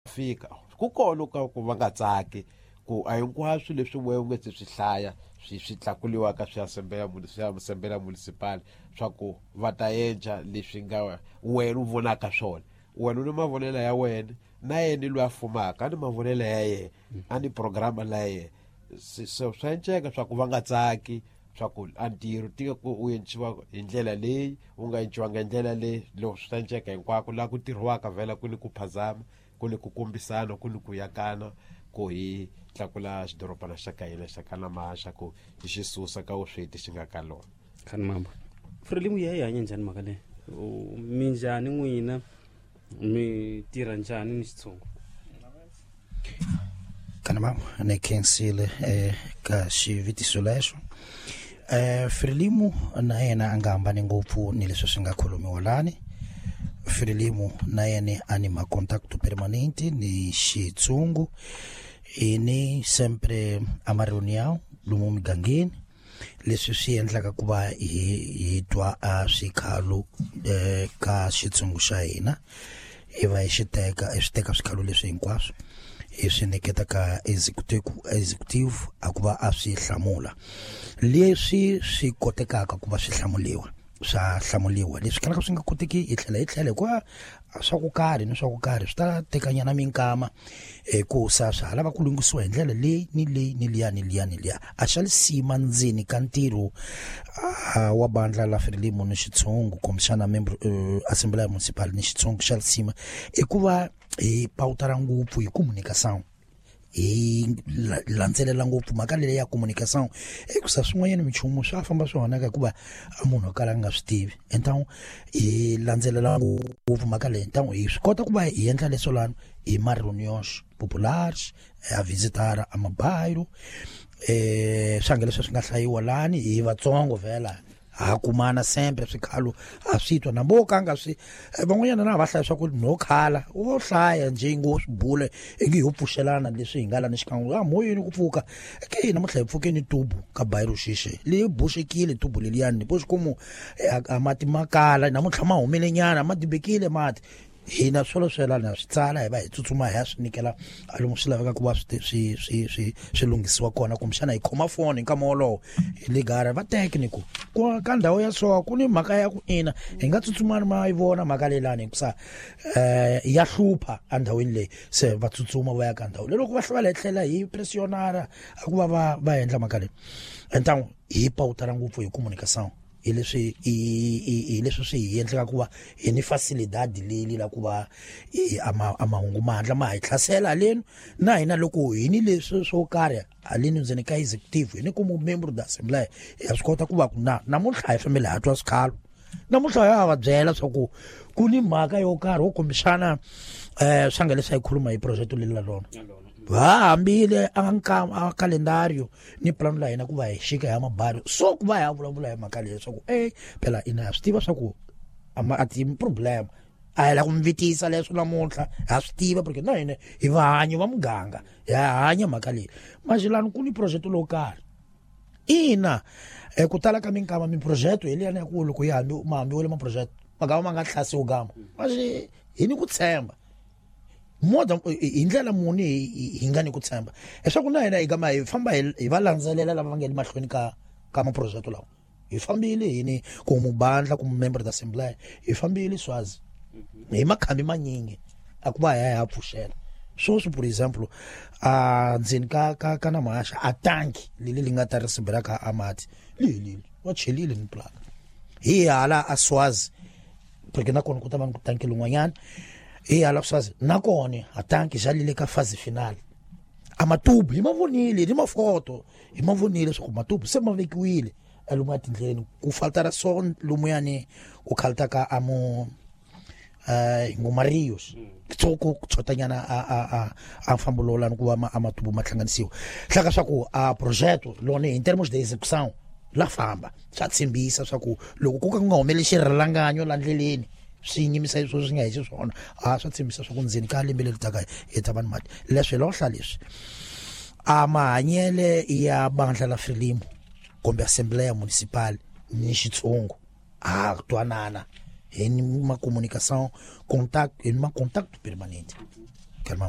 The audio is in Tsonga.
Fika ku kona ka ku va nga tsaki ku a hinkwaswo leswi wehe u nge se swi hlaya swi tlakuliwaka swi swi asembleya municipal swa ku va ta endla leswi nga wena u vonaka swona. Wena u ni mavonelo ya wena, na yena loyi a fumaka a ni mavonelo ya yena, a ni programa la yena. So swa enceka swa ku va nga tsaki swa ku a ntirho tika ku u endliwa hi ndlela leyi u nga endliwanga hi ndlela leyi. Loko swi ta enceka hinkwako laha ku tirhiwaka vhela ku ni ku phazama, ku ni ku kombisana, ku ni ku yakana, ku hi tlakula xidorobana xa ka hina xa ka Namaxa, ku hi xi susa ka vusweti xi nga ka lona. Khani mamba Frelimu ya yi hanya njhani mhaka leyi? Mi njhani n'wina, mi tirha njhani ni xitshungu? Kana mama ni khensile ka xivutiso lexo. Frelimu na yena a nga hambani ngopfu ni leswi swi nga khulumiwa lani. Frelimu na yena a ni ma contacto permanente ni xitshungu, hi ni sempre a ma reunião lomu migangeni, leswi swi endlaka ku va hi twa a swikhalo ka xitshungu xa hina, hi va hi xi teka, hi swi teka swikhalo leswi hinkwaswo hi swi nyiketa ka executive a ku va a swi hlamula. Leswi swi kotekaka ku va swi hlamuliwa swa hlamuliwa, leswi kalaka swi nga koteki hi tlhela hi tlhela, hikuva swa ku karhi ni swa ku karhi swi ta tekanyana minkama, hikusa swa ha lava ku lunghisiwa hi ndlela leyi ni leyi ni liya ni liya ni liya. A xa lisima ndzeni ka ntirho wa bandla la Frelimo ni xitshungu, kumbexana membro Assembleia Municipal ni xitshungu xa lisima, i ku va hi pawutara ngopfu hi communication, hi landzelela ngopfu mhaka leyi ya communication, hikusa swin'wanyana minchumu swa famba swi onhaka hikuva a munhu o kala a nga swi tivi. Então hi landzelela ngopfu mhaka leyi, então hi swi kota ku va hi endla leswo lano hi ma reuniões populares, a visitar a mabairro, swange leswi swi nga hlayiwa lani hi vatsongo vhela ha kumana sempre swikhalo a swi twa na vo ka nga swi van'wanyana na va hlaya swa ku no khala wo hlaya nje ngo swi bule ingi ho pfuxelana leswi hi nga lani xikan'we a moyeni ku pfuka ke namuntlha hi pfukeni tubu ka bairro xixe leyi boxekile tubu leliyani bo xikomu a mati ma kala namuntlha ma humele nyana ma dibekile mati hina swolo swelana swi tsala hi va hi tsutsuma hi ya swi nyikela a lomu swi laveka ku va swi lunghisiwa kona, kumbexana hi khoma foni hi nkama wolowo hi ligara va teke ni ku ku ka ndhawu ya so ku ni mhaka ya ku ina hi nga tsutsumani ma yi vona mhaka leyi lani hikusa ya hlupha endhawini leyi, se va tsutsuma va ya ka ndhawu leyi loko va hlwela hi tlhela hi pressionara a ku va va va endla mhaka leyi. Entangu hi pawutara ngopfu hi communication, hi leswi hi leswi swi hi endlaka ku va hi ni facilidad leyi la ku va i a mahungu ma hatla ma hi hlasela haleni na hina loko hi ni leswi swo karhi haleni ndzeni ka executive hi ni ku member da assembly ya swi kota ku va ku na namuntlha hi fambile ha twa swikhalo namuntlha ya va byela swa ku ku ni mhaka yo karhi wo kumbexana swa nga leswi a yi khuluma hi project leyi la rona va hambile a nka a calendario ni plan la hina ku va hi xika ya mabari so ku va ya vulavula hi mhaka leyi swa ku phela ina ha swi tiva swa ku a ma a ti problem a hi la ku mi vitisa leswo namuntlha ha swi tiva porque na hina hi vahanyi va muganga hi hanya mhaka leyi maxilani ku ni project lowo karhi ina ku tala ka minkama miproject hi liyani ya ku loko yi hambi ma hambiwile maproject magama ma nga hlasiwi gama maxi hi ni ku tshemba more hi ndlela muni hi nga ni ku tshemba leswaku na hina hi gama hi famba hi va landzelela lava va nga le mahlweni ka maproject lawa hi fambile hi ni ku mubandla ku member da assembly hi fambile swazi hi makhambi manyingi a ku va hi ya hi ya pfuxela sweswi for example a ndzeni ka ka Namahaxa a tanki leli li nga ta ri sibela ka a mati li helile va chelile ni plaka hi hala a Swazi porque na kona ku ta va ni ku tanki lin'wanyana hi hala Swazi na kona a tanki xa lile ka phase final a matubu hi ma vonile ni mafoto hi ma vonile leswaku matubu se ma vekiwile lomu etindleleni ku faltara so lumuyani ku khalta ka amo ngomarios so ku chotanyana a mfambo lowu lani ku va a matubu ma hlanganisiwa hlaka swa ku a projeto lona in termos de execução la famba swa tshembisa swa ku loko ku ka ku nga humeleli xirhalanganyo la ndleleni swi nyimisa leswi swi nga hi xiswona a swa tshembisa swa ku ndzeni ka lembe leri taka hi ta va ni mati leswi hi lohla leswi a mahanyele ya bandla la Frelimo kumbe assembleya municipal ni xitshungu a twanana hi ni ma communication contact hi ni ma contact permanente. Kalmam.